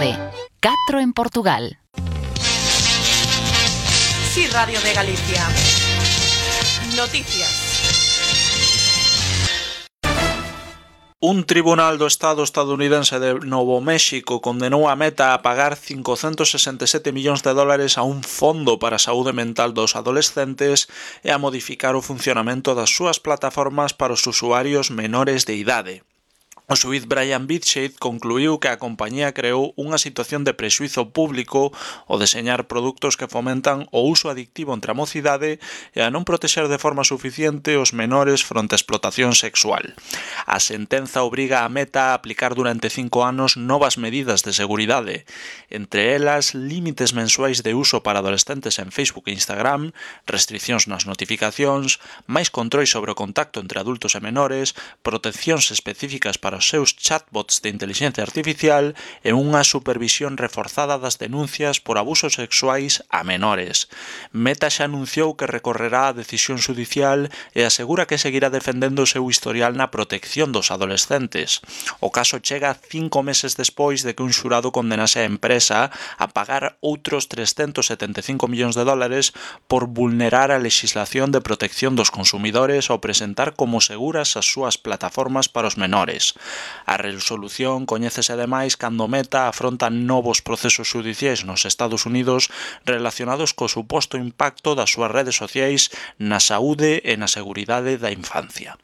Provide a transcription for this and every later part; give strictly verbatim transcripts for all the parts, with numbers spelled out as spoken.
once, catro en Portugal. Sí, Radio de Galicia. Noticias. Un tribunal do Estado estadounidense de Novo México condenou a Meta a pagar cincocentos sesenta e sete millóns de dólares a un fondo para a saúde mental dos adolescentes e a modificar o funcionamento das súas plataformas para os usuarios menores de idade. O xuíz Brian Bitshead concluiu que a compañía creou unha situación de prexuízo público ao deseñar produtos que fomentan o uso adictivo entre a mocidade e a non protexer de forma suficiente os menores fronte a explotación sexual. A sentenza obriga a Meta a aplicar durante cinco anos novas medidas de seguridade, entre elas límites mensuais de uso para adolescentes en Facebook e Instagram, restriccións nas notificacións, máis controis sobre o contacto entre adultos e menores, proteccións específicas para os seus chatbots de inteligencia artificial e unha supervisión reforzada das denuncias por abusos sexuais a menores. Meta xa anunciou que recorrerá a decisión xudicial e asegura que seguirá defendendo o seu historial na protección dos adolescentes. O caso chega cinco meses despois de que un xurado condenase a empresa a pagar outros trescentos setenta e cinco millóns de dólares por vulnerar a lexislación de protección dos consumidores ao presentar como seguras as súas plataformas para os menores. A resolución coñécese ademais cando Meta afronta novos procesos xudiciais nos Estados Unidos relacionados co suposto impacto das súas redes sociais na saúde e na seguridade da infancia.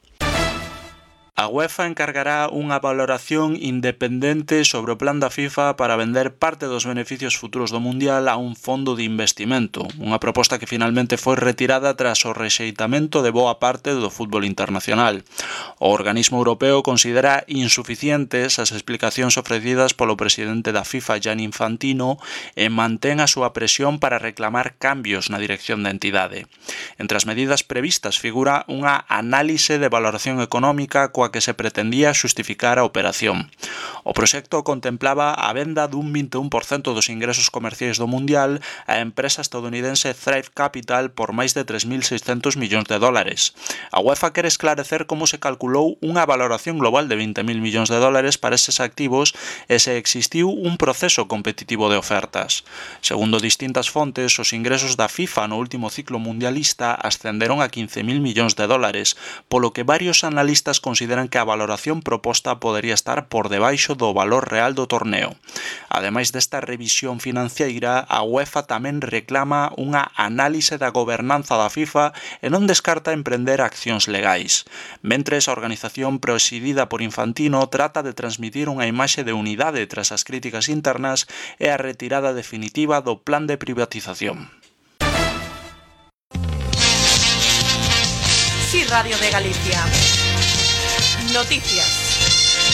A UEFA encargará unha valoración independente sobre o plan da FIFA para vender parte dos beneficios futuros do Mundial a un fondo de investimento, unha proposta que finalmente foi retirada tras o rexeitamento de boa parte do fútbol internacional. O organismo europeo considera insuficientes as explicacións ofrecidas polo presidente da FIFA, Gianni Infantino, e mantén a súa presión para reclamar cambios na dirección da entidade. Entre as medidas previstas figura unha análise de valoración económica coa que se pretendía xustificar a operación. O proxecto contemplaba a venda dun vinte e un por cento dos ingresos comerciais do Mundial á empresa estadounidense Thrive Capital por máis de tres mil seiscentos millóns de dólares. A UEFA quere esclarecer como se calculou unha valoración global de vinte mil millóns de dólares para eses activos e se existiu un proceso competitivo de ofertas. Segundo distintas fontes, os ingresos da FIFA no último ciclo mundialista ascenderon a quince mil millóns de dólares, polo que varios analistas consideran que a valoración proposta podería estar por debaixo do valor real do torneo. Ademais desta revisión financeira, a UEFA tamén reclama unha análise da gobernanza da FIFA e non descarta emprender accións legais. Mentres, a organización presidida por Infantino trata de transmitir unha imaxe de unidade tras as críticas internas e a retirada definitiva do plan de privatización. Sí, Radio de Galicia. Noticias.